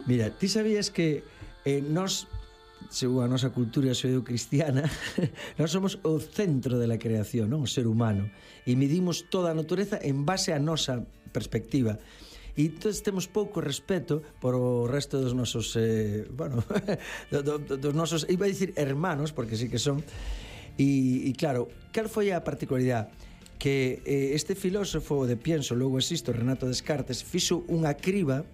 Mira, ti sabías que nós, según a nosa cultura xudeo-cristiana, nós somos o centro da creación, non? O ser humano, e medimos toda a natureza en base á nosa perspectiva. E entón temos pouco respeto por o resto dos nosos dos nosos, iba a dicir hermanos, porque sí que son. E claro, cal foi a particularidade? Que este filósofo de pienso, logo existo, Renato Descartes, fixo unha criba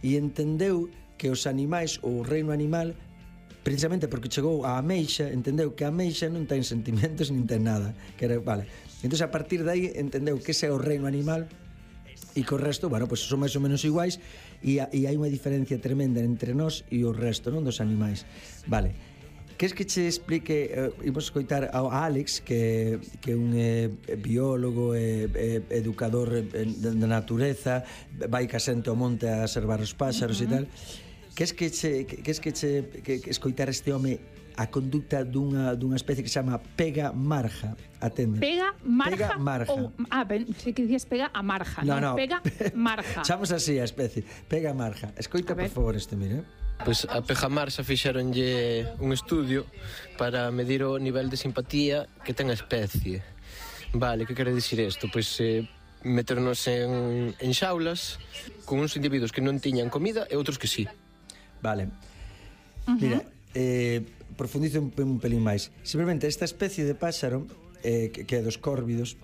e entendeu que os animais, ou o reino animal, precisamente porque chegou á ameixa, entendeu que a ameixa non ten sentimentos nin ten nada, que era, vale. Entón a partir de aí entendeu que ese é o reino animal e que o resto, bueno, pues son máis ou menos iguais e hai unha diferencia tremenda entre nós e o resto, non, dos animais. Vale. Queres que che explique, imos escoitar a Alex, que é un biólogo, educador da natureza, vai casente ao monte a observar os páxaros e tal. Queres que escoitar este home a conducta dunha especie que se chama pega marja? Atende. Pega marja? Pega marja. Si que dicías pega a marja. No. Pega marja. Chamamos así a especie, pega marja. Escoita, por favor, este, mire. Pois a pegamarxa fixeronlle un estudio para medir o nivel de simpatía que ten a especie. Vale, que quere dicir isto? Pois meternos en xaulas con uns individuos que non tiñan comida e outros que sí. Vale. Mira, profundizo un pelín máis. Simplemente esta especie de páxaro que é dos córvidos,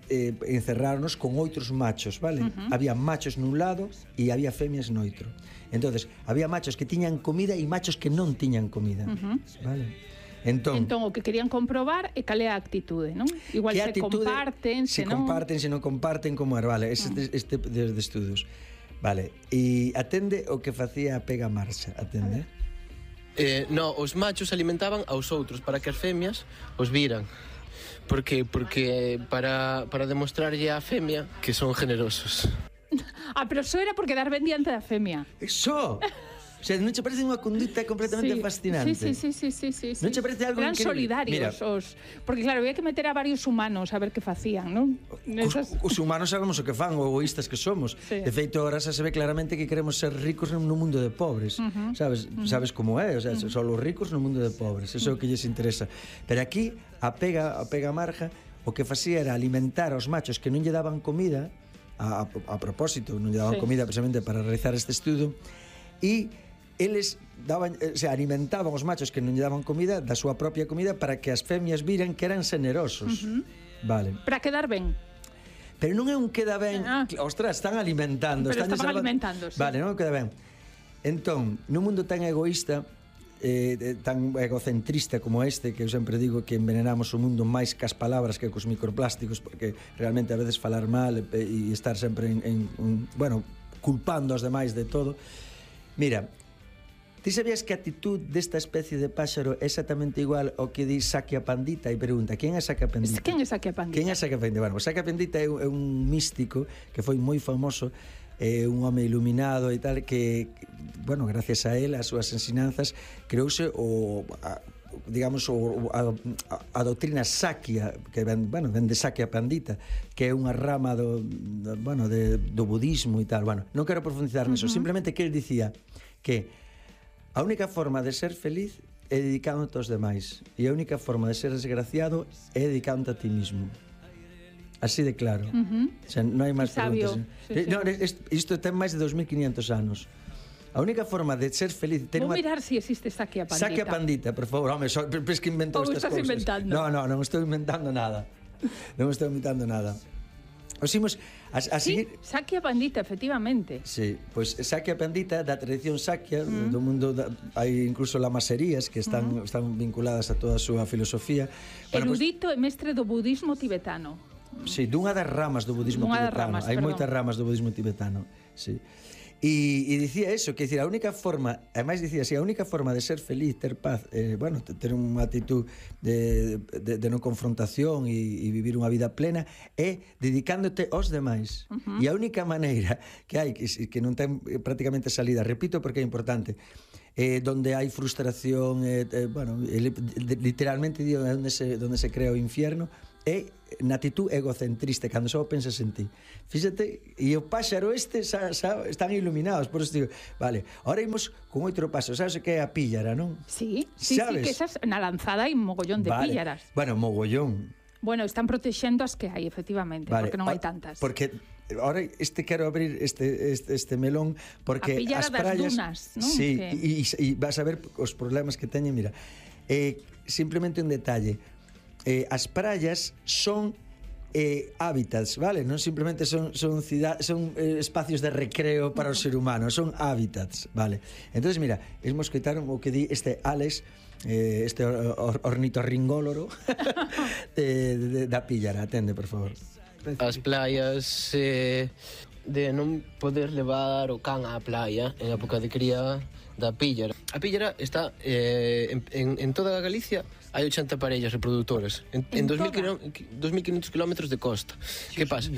encerráronos con outros machos, vale? Había machos nun lado e había femias no outro. Entonces, había machos que tiñan comida e machos que non tiñan comida, vale? Entón, o que querían comprobar é cal é a actitude, non? Igual se comparten, se non comparten, se non comparten, como era, vale? Este de estudos. Vale, e atende o que facía a pega marcha, atende? No, os machos alimentaban aos outros para que as femias os viran. Por que? Porque para demostrarlle á femia que son generosos. Pero só era por quedar ben diante da femia. Eso! O sea, non che parece unha conducta completamente fascinante? Sí. Non che parece algo eran increíble? Solidarios. Porque claro, había que meter a varios humanos a ver que facían, non? Os humanos sabemos o que fan, o egoístas que somos. De feito, ahora xa se ve claramente que queremos ser ricos no mundo de pobres. Sabes como é? O sea, son os ricos no mundo de pobres. Eso é o que lles interesa. Pero aquí, a pega marja, o que facía era alimentar aos machos que non lle daban comida, a propósito, non lle daban comida precisamente para realizar este estudo, e eles alimentaban os machos que non lle daban comida da súa propia comida para que as femias viran que eran generosos. Vale. Para quedar ben. Pero non é un queda ben. Ostras, están alimentando. Pero estaban alimentando, sí. Vale, non queda ben. Entón, nun mundo tan egoísta, tan egocentrista como este, que eu sempre digo que envenenamos o mundo máis cas palabras que cos microplásticos, porque realmente a veces falar mal e estar sempre culpando aos demais de todo. Mira, ti sabías que a actitud desta especie de páxaro é exactamente igual ao que di Sakya Pandita? E pregunta, quen é Sakya Pandita? Quen é Sakya Pandita? Quen é Sakya Pandita? Bueno, Sakya Pandita é un místico que foi moi famoso, un home iluminado e tal, que, bueno, gracias a él, as súas ensinanzas, creouse a doutrina Sakya, que ven de Sakya Pandita, que é unha rama do budismo e tal. Bueno, non quero profundizar nisso, simplemente que él dicía que a única forma de ser feliz é dedicándote aos demais, e a única forma de ser desgraciado é dedicándote a ti mismo. Así de claro. O sea, non hai máis preguntas. Isto ten máis de 2500 anos. A única forma de ser feliz... Vou mirar se existe Sakya Pandita. Sakya Pandita, por favor. Home, es que inventou estas cousas. Ou estás inventando? Non estou inventando nada. Non estou inventando nada. Os imos a seguir... Sakya Pandita, efectivamente. Sí, pois Sakya Pandita, da tradición Sakya, do mundo, hai incluso lamaserías que están vinculadas a toda a súa filosofía. Erudito e mestre do budismo tibetano. Sí, dunha das ramas do budismo tibetano. Hai moitas ramas do budismo tibetano, sí. E dicía eso, que decir, a única forma, ademais dicía así, a única forma de ser feliz, ter paz, ter unha actitud de non confrontación e vivir unha vida plena é dedicándote aos demais. E a única maneira que hai, que non ten prácticamente salida, repito porque é importante, donde hai frustración, literalmente digo, onde se crea o infierno, é na actitud egocentrista, cando só pensas en ti. Fíxate, e o páxaro están iluminados, por eso digo, vale, ahora imos con outro paso, sabes que é a píllara, non? Sí, sí, que esas na lanzada hai un mogollón de píllaras. Bueno, mogollón. Bueno, están protexendo as que hai, efectivamente, porque non hai tantas. Porque ahora quero abrir este melón, porque as praias das dunas, non? Sí, e vas a ver os problemas que teñen, mira. Simplemente un detalle. As praias son hábitats, vale? Non simplemente son espacios de recreo para o ser humano, son hábitats, vale? Entonces, mira, imos coitar o que di este Alex, este ornitorringóloro da píllara. Atende, por favor. As playas de non poder levar o can á playa en época de cría da píllara. A píllara está en toda Galicia. Hai 80 parellas reproductoras en 2.500 kilómetros de costa. Que pasa?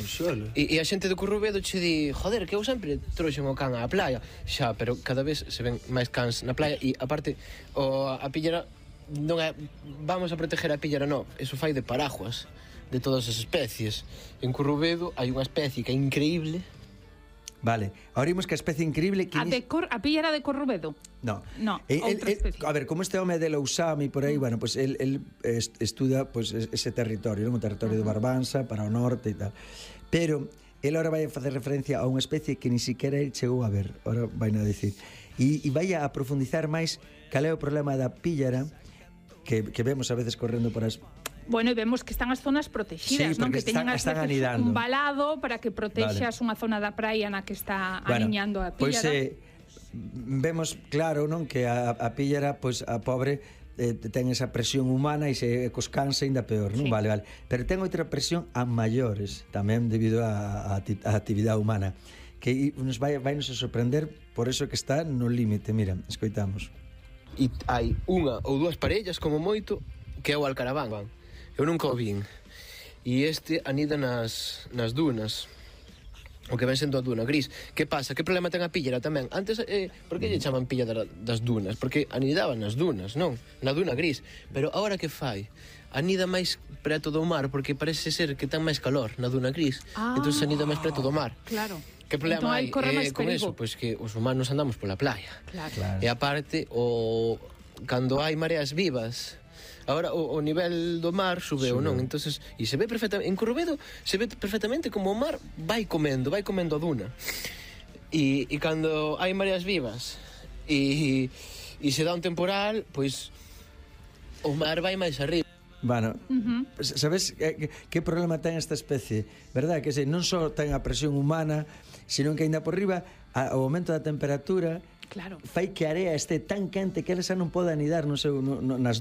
E a xente do Currubedo che di, joder, que eu sempre trouxen o can á playa. Xa, pero cada vez se ven máis cans na playa e aparte a píllara non é vamos a proteger a píllara, non, eso fai de paraguas de todas as especies. En Currubedo hai unha especie que é increíble. Vale, ahora imos que a especie increíble que a píllara de Corrubedo? No. Outra especie. A ver, como este home de Lousame por aí, bueno, pues el estuda pues ese territorio, non? O territorio de Barbanza para o norte e tal. Pero el ahora vai a facer referencia a unha especie que ni siquiera el chegou a ver, ahora vai a decir. E vai a profundizar máis cal é o problema da píllara que vemos a veces correndo por as... Bueno, e vemos que están as zonas protegidas, non? Que teñen as veces un valado para que protexas unha zona da praia na que está aniñando a píllara. Pois vemos claro, non, que a píllara, pois a pobre ten esa presión humana e se cos cansa ainda peor, non? Vale. Pero ten outra presión a maiores, tamén debido á actividade humana, que nos vai nos a sorprender, por eso que está no límite. Mira, escoitamos. E hai unha ou dúas parellas como moito que é o alcaraván. Eu nunca o vin. E este anida nas dunas. O que ven sendo a duna gris. Que pasa? Que problema ten a píllara tamén? Antes, por que lle chaman píllara das dunas? Porque anidaban nas dunas, non? Na duna gris. Pero agora que fai? Anida máis preto do mar, porque parece ser que ten máis calor na duna gris. Entón anida máis preto do mar. Claro. Que problema hai con eso? Pois que os humanos andamos pola playa. Claro. E aparte, cando hai mareas vivas, agora o nivel do mar subeu, non? Entonces, e se ve perfectamente en Corrubedo, se ve perfectamente como o mar vai comendo a duna. E cando hai mareas vivas e se dá un temporal, pois o mar vai máis arriba. Bueno, sabes que problema ten esta especie? Verdad? Que non só ten a presión humana, sino que ainda por riba, ao aumento da temperatura, claro, fai que a area este tan quente que ela xa non pode anidar nas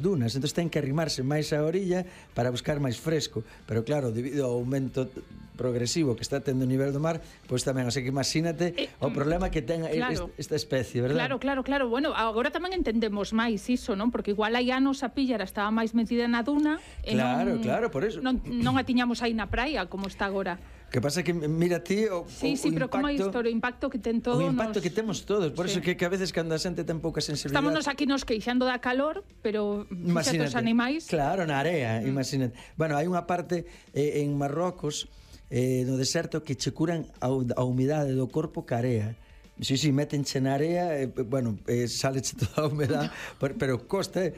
dunas, entón ten que arrimarse máis á orilla para buscar máis fresco, pero claro, debido ao aumento progresivo que está tendo o nivel do mar, pois tamén, así que imagínate o problema que ten esta especie, verdad? Claro, bueno, agora tamén entendemos máis iso, non? Porque igual hai anos a píllara estaba máis metida na duna e claro, por eso non a tiñamos aí na praia como está agora. Que pasa que, mira ti, o pero como hai o impacto que ten todo. O impacto que temos todos, por eso que a veces cando a xente ten pouca sensibilidade... Estámonos aquí nos queixando da calor, pero fíxate os animais... Claro, na area, imagínate. Bueno, hai unha parte en Marrocos, no deserto, que che curan a humidade do corpo ca area. Sí, metenche na area, bueno, saleche toda a humedade, pero costa,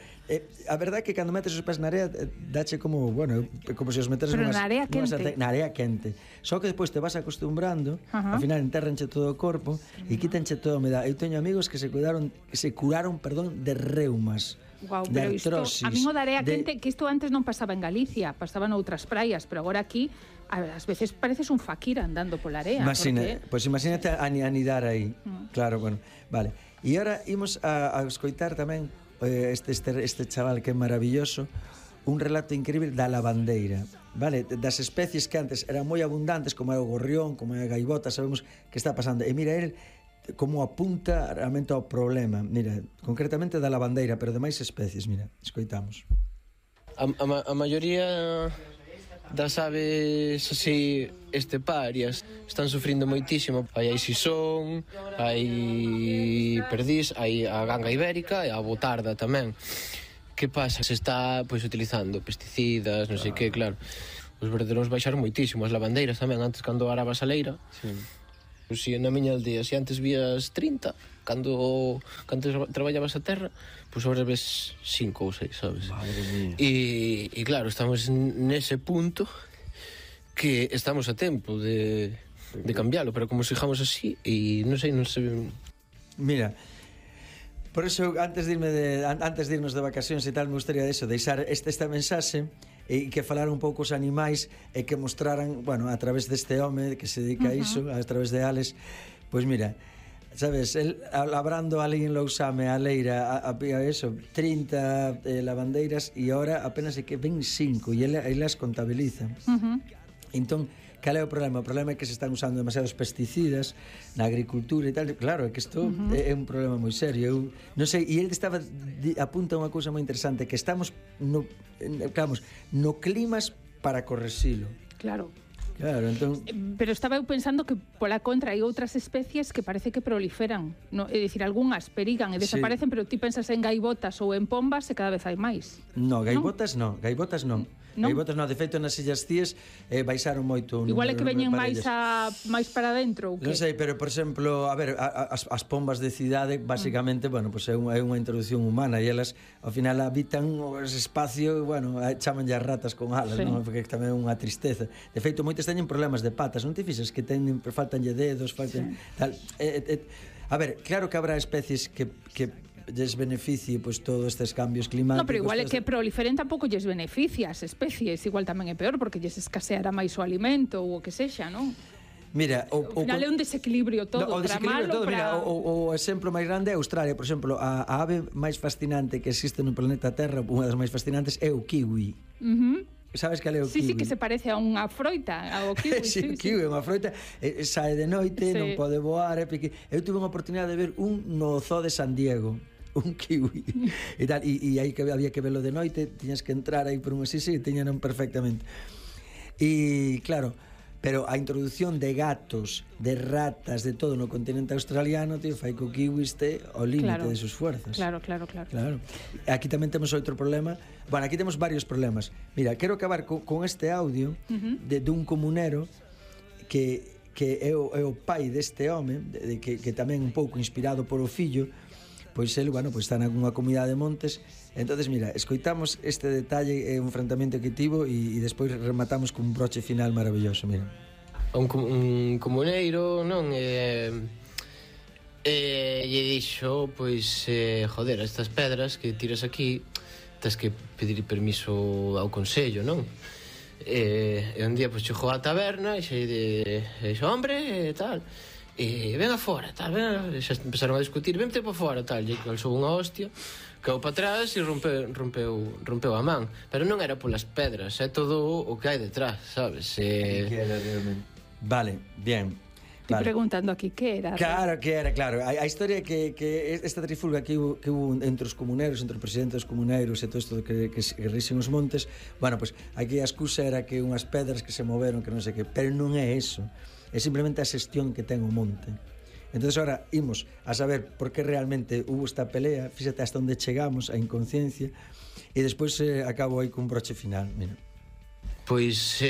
a verdade é que cando metes os pés na area, dache como, bueno, como se os meteres na area quente. Na area quente. Só que despois te vas acostumbrando, ao final enterranche todo o corpo e quítanche toda a humedade. Eu teño amigos que se curaron de reumas. Guau, pero isto, a mí o da area quente, que isto antes non pasaba en Galicia, pasaba noutras praias, pero agora aquí ás veces pareces un faquir andando pola area. Pois imagínate anidar aí. Claro, bueno, vale. E agora imos a escoitar tamén este chaval que é maravilloso, un relato increíble da lavandeira, vale? Das especies que antes eran moi abundantes, como é o gorrión, como é a gaivota, sabemos que está pasando. E mira, el como apunta realmente ao problema, mira, concretamente da lavandeira, pero de máis especies, mira, escoitamos. A maioría das aves así esteparias están sufrindo moitísimo. Hai sisón, hai perdís, hai a ganga ibérica e a botarda tamén, que pasa? Se está pois utilizando pesticidas, non sei que, claro. Os verderóns baixaron moitísimo, as lavandeiras tamén, antes cando arabas a leira. Sí. Pois si na miña aldea, se antes vías 30, cando traballabas a terra, pois agora ves 5 ou 6, sabes? Madre mía. E claro, estamos nese punto que estamos a tempo de cambiálo, pero como sigamos así, e non sei... Mira, por eso, antes de irnos de vacacións e tal, me gustaría deixar esta mensaxe e que falara un pouco os animais e que mostraran, bueno, a través deste home que se dedica a iso, a través de Alex, pois mira, sabes, el labrando ali en Lousame a leira, había eso, 30 lavandeiras e ahora apenas é que ven 5 e ele as contabiliza. Entón, cal é o problema? O problema é que se están usando demasiados pesticidas na agricultura e tal. Claro, é que isto é un problema moi serio. Eu non sei, e ele apunta unha cousa moi interesante, que estamos no climas para correxilo. Claro. Claro, entón... Pero estaba eu pensando que pola contra hai outras especies que parece que proliferan, no? É dicir, algunhas perigan e desaparecen, pero ti pensas en gaivotas ou en pombas e cada vez hai máis. No, gaivotas non. Gaivotas non, de feito nas Illas Cíes baixaron moito. Igual é que veñen máis para dentro ou que? Non sei, pero por exemplo, a ver, as pombas de cidade basicamente, bueno, pues é unha introducción humana e elas ao final habitan os espacios, bueno, chamanlle as ratas con alas, non? Porque tamén é unha tristeza. De feito, moitas teñen problemas de patas, non te fixes que faltanlle dedos, faltan tal. A ver, claro que habrá especies que lles beneficie pois todos estes cambios climáticos. No, pero igual é que proliferen tampouco lles beneficia as especies, igual tamén é peor porque lles escaseará máis o alimento ou o que sexa, non? Mira, ao final é un desequilibrio todo, o desequilibrio todo, mira, o exemplo máis grande é Australia, por exemplo, a ave máis fascinante que existe no planeta Terra, unha das máis fascinantes é o kiwi. Sabes cal é o kiwi? Sí, que se parece a unha froita, ao kiwi. Sí, o kiwi é unha froita, sae de noite, non pode voar, eu tuve unha oportunidade de ver un no zoo de San Diego, un kiwi e tal, e aí que había que verlo de noite, tiñas que entrar aí por un así, tiñan perfectamente. E claro, pero a introducción de gatos, de ratas, de todo no continente australiano, tío, fai que o kiwi este ao límite de sus fuerzas. Claro. Aquí tamén temos outro problema. Bueno, aquí temos varios problemas. Mira, quero acabar con este audio dun comunero que é o pai deste home, que tamén un pouco inspirado por o fillo, pois ele, bueno, pois está nunha comunidade de montes. Entonces, mira, escoitamos este detalle, un enfrentamento que tivo e despois rematamos cun broche final maravilloso, mira. Un comuneiro, non? E dixo, pois, joder, estas pedras que tiras aquí, tens que pedir permiso ao consello, non? E un día, pois, chegou á taberna e dixo, hombre, e tal... E ven afora, tal, xa empezaron a discutir, vente para fora, tal, e calzou unha hostia, caeu para atrás e rompeu a man, pero non era polas pedras, é todo o que hai detrás, sabes? Que era realmente. Vale, bien. Estoy preguntando aquí, que era? Claro, que era, claro. A historia que esta trifulga que hubo entre os comuneiros, entre o presidente dos comuneiros e todo isto que rixen os montes, bueno, pues aquí a excusa era que unhas pedras que se moveron, que non sei que, pero non é eso. É simplemente a xestión que ten o monte. Entonces ahora imos a saber por que realmente hubo esta pelea, fíxate hasta onde chegamos, a inconsciencia, e despois acabo aí cun broche final, mira. Pois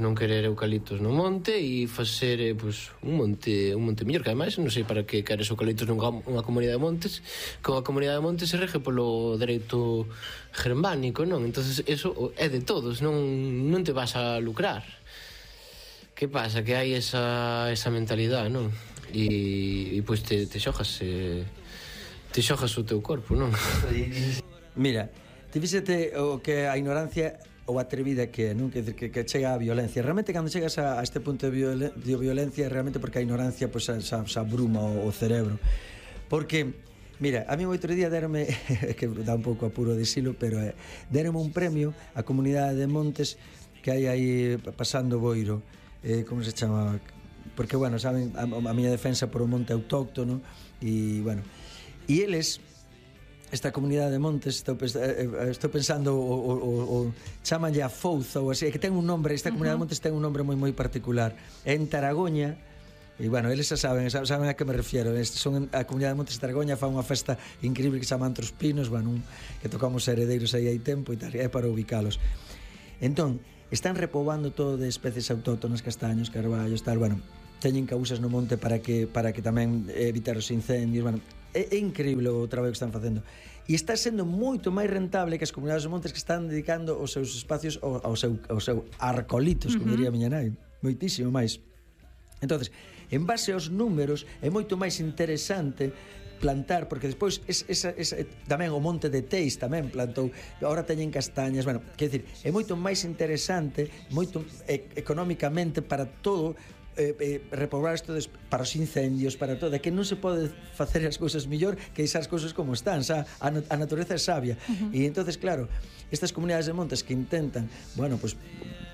non querer eucaliptos no monte e facer un monte mellor, que ademais non sei para que queres eucaliptos nunha comunidade de montes, que unha comunidade de montes se rege polo dereito germánico, non? Entonces eso é de todos, non te vas a lucrar. Que pasa? Que hai esa mentalidade, non? E pois te xojas o teu corpo, non? Mira, te fíxate o que a ignorancia ou atrevida que é, non? Que chega a violencia. Realmente, cando chegas a este punto de violencia, realmente porque a ignorancia pues, se abruma o cerebro. Porque, mira, a mí outro día deronme, que dá un pouco apuro dicilo, pero deronme un premio a comunidade de montes que hai aí pasando Boiro. Como se chamaba? Porque, bueno, saben, a miña defensa por o monte autóctono e, bueno, e eles, esta comunidade de montes, estou pensando o chamanlle a Fouza ou así, que ten un nombre, esta comunidade de montes ten un nombre moi particular. En Taragoña E, bueno, eles xa saben a que me refiero. Son a Comunidade de Montes de Targoña, fa unha festa increíble que se chama Antros Pinos, bueno, que tocamos Heredeiros aí hai tempo e tal, é para ubicalos. Entón, están repoboando todo de especies autóctonas, castaños, carballos, tal, bueno, teñen causas no monte para que tamén evitar os incendios, bueno, é increíble o traballo que están facendo. E está sendo moito máis rentable que as comunidades de montes que están dedicando os seus espacios ao seu arcolitos, como diría a miña nai, moitísimo máis. Entonces, en base aos números, é moito máis interesante plantar, porque despois tamén o monte de Teis tamén plantou, agora teñen castañas, bueno, quer dizer, é moito máis interesante, moito económicamente para todo, repoblar isto para os incendios, para todo, que non se pode facer as cousas mellor que deixar as cousas como están, a natureza é sabia. E entonces, claro, estas comunidades de montes que intentan, bueno, pues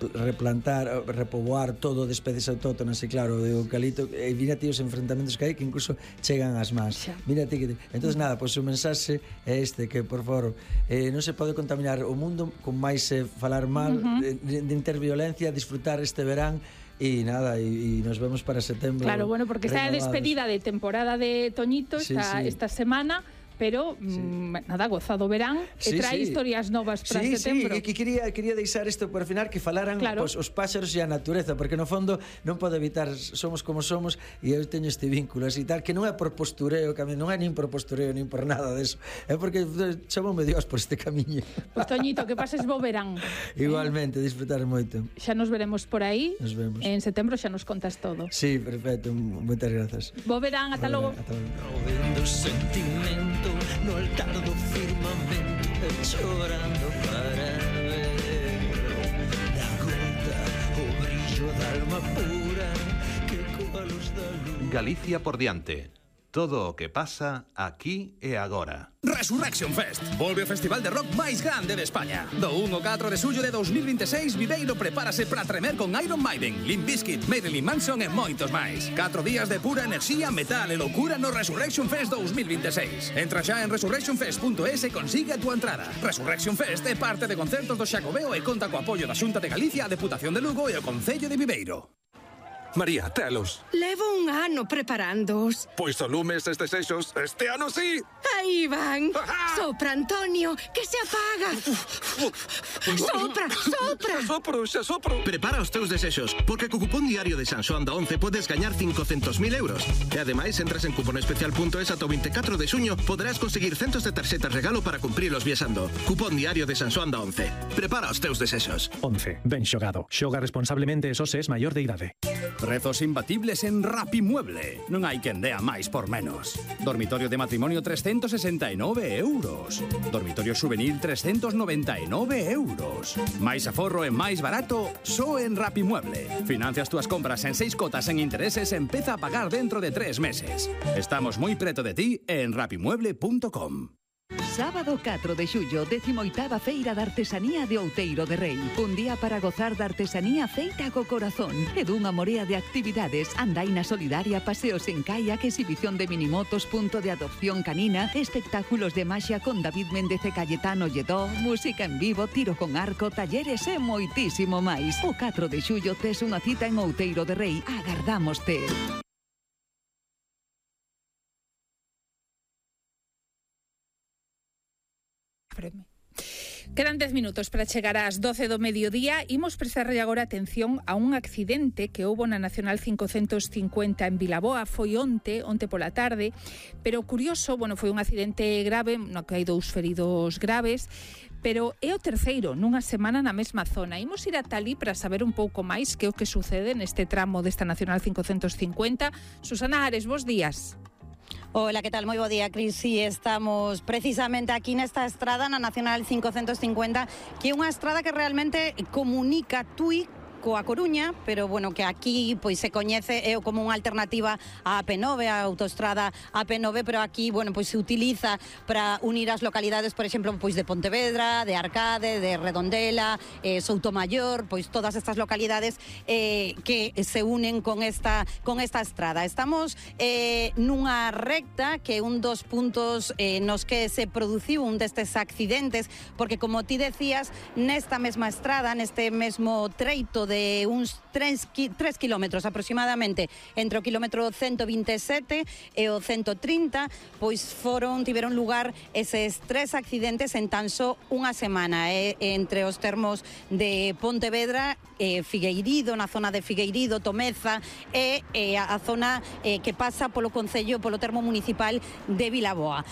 replantar, repoboar todo de especies autóctonas, e claro, de eucalipto, e mira ti os enfrentamentos que hai que incluso chegan ás más. Mira ti que... Entonces, nada, pues o mensaxe é este, que, por favor, non se pode contaminar o mundo con máis falar mal, de interviolencia, disfrutar este verán. E nada, e nos vemos para setembro. Claro, bueno, porque está a despedida de temporada de Toñito esta semana, pero nada, gozado verán, e trae historias novas para setembro. Sí, quería deixar isto por final, que falaran os páxaros e a natureza, porque no fondo non pode evitar, somos como somos, e eu teño este vínculo así tal, que non é por postureo, non é nin por postureo, nin por nada deso, é porque chamoume Dios por este camiño. Pois Toñito, que pases bo verán. Igualmente, disfrutar moito. Xa nos veremos por aí. Nos vemos. En setembro xa nos contas todo. Sí, perfecto, moitas grazas. Bo verán, ata logo. No altar do firmamento, chorando para ver da gota o brillo da alma pura que coa luz da luz. Galicia por diante. Todo o que pasa aquí e agora. Resurrection Fest. Volve o festival de rock máis grande de España. Do 1 ao 4 de xullo de 2026, Viveiro prepárase para tremer con Iron Maiden, Limp Bizkit, Marilyn Manson e moitos máis. 4 días de pura enerxía, metal e loucura no Resurrection Fest 2026. Entra xa en resurrectionfest.es e consigue a túa entrada. Resurrection Fest é parte de concertos do Xacobeo e conta co apoio da Xunta de Galicia, a Deputación de Lugo e o Concello de Viveiro. María, telos. Levo un ano preparándoos. Pois o lumes estes eixos, este ano sí. Aí van. Sopra, Antonio, que se apaga. Sopra. Xa sopro. Prepara os teus desexos, porque co cupón diario de San Xoán da 11 podes gañar 500.000 euros. E ademais, entras en cuponespecial.es ata o 24 de xuño, poderás conseguir centos de tarxetas regalo para cumprilos viaxando. Cupón diario de San Xoán da 11. Prepara os teus desexos. 11. Ben xogado. Xoga responsablemente e só se es maior de idade. Prezos imbatibles en Rapimueble. Non hai quen dea máis por menos. Dormitorio de matrimonio 369 euros. Dormitorio juvenil 399 euros. Máis aforro e máis barato só en Rapimueble. Financia as túas compras en 6 cotas en intereses e empeza a pagar dentro de 3 meses. Estamos moi preto de ti en rapimueble.com. Sábado 4 de xullo, 18ª Feira da Artesanía de Outeiro de Rei. Un día para gozar da artesanía feita co corazón e dunha morea de actividades. Andaina solidaria, paseos en kayak, exhibición de minimotos, punto de adopción canina, espectáculos de maxia con David Méndez e Cayetano Lledó, música en vivo, tiro con arco, talleres e moitísimo máis. O 4 de xullo tes unha cita en Outeiro de Rei. Agardámoste. Quedan 10 minutos para chegar ás 12 do mediodía. Imos prestarlle agora atención a un accidente que houbo na Nacional 550 en Vilaboa. Foi onte pola tarde, pero curioso, foi un accidente grave, no que hai 2 feridos graves, pero é o terceiro nunha semana na mesma zona. Imos ir ata ali para saber un pouco máis que é o que sucede neste tramo desta Nacional 550. Susana Ares, bos días. Hola, que tal? Moi bo día, Cris. Sí, estamos precisamente aquí nesta estrada, na Nacional 550, que é unha estrada que realmente comunica Tui coa Coruña, pero que aquí pois se coñece como unha alternativa á AP9, a autoestrada AP9, pero aquí, pois se utiliza para unir as localidades, por exemplo, pois de Pontevedra, de Arcade, de Redondela, Soutomaior, pois todas estas localidades que se unen con esta estrada. Estamos nunha recta que é un dos puntos nos que se produciu un destes accidentes, porque como ti decías, nesta mesma estrada, neste mesmo treito de uns 3 kilómetros aproximadamente entre o kilómetro 127 e o 130, pois tiveron lugar eses 3 accidentes en tan só unha semana, entre os termos de Pontevedra, Figueirido, na zona de Figueirido, Tomeza e a zona que pasa polo concello, polo termo municipal de Vilaboa.